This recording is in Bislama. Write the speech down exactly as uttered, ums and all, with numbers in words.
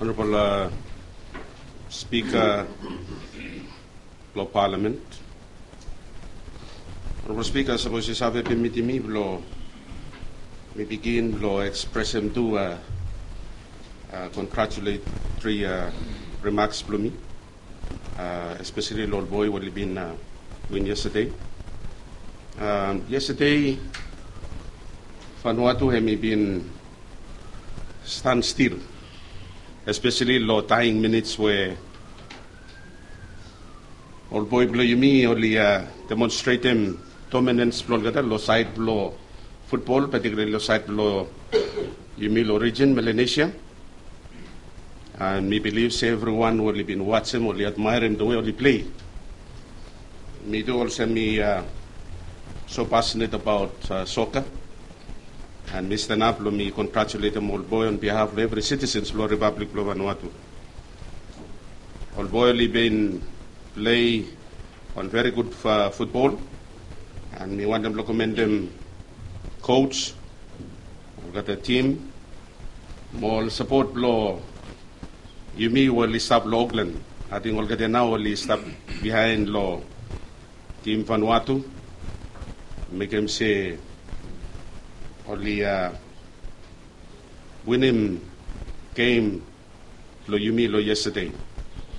Honorable Speaker blong Palamen. Honorable Speaker, sapos yu save pemitim mi blong mi bigin blong ekspresem tu kongratulatory rimaks blong mi, espeseli long ol boi we oli bin win yestade. Yestade Vanuatu hem i bin stan stil, espeseli long taing minits we ol boi blong yumi oli demonstretem dominans blong olgeta long saed blong futbol, patikulali long saed blong yumi long rijin Melanesia. And mi bilif se evriwan we oli bin wajem oli admaerem the way oli plei. Mi tu olsem mi so passionate abaot soka, and mi stanap blong mi kongratuletem ol boi on bihaf blong evri sitisens blong ripablik blong Vanuatu. Ol boi oli bin plei on veri gud futbol, and mi wantem blong komendem koj, olgeta tim, mo ol sapot blong yumi we oli stap long Oklan. Ating olgeta nao oli stap bihaen long tim Vanuatu, mekem se oli winim gem blong yumi long yestade.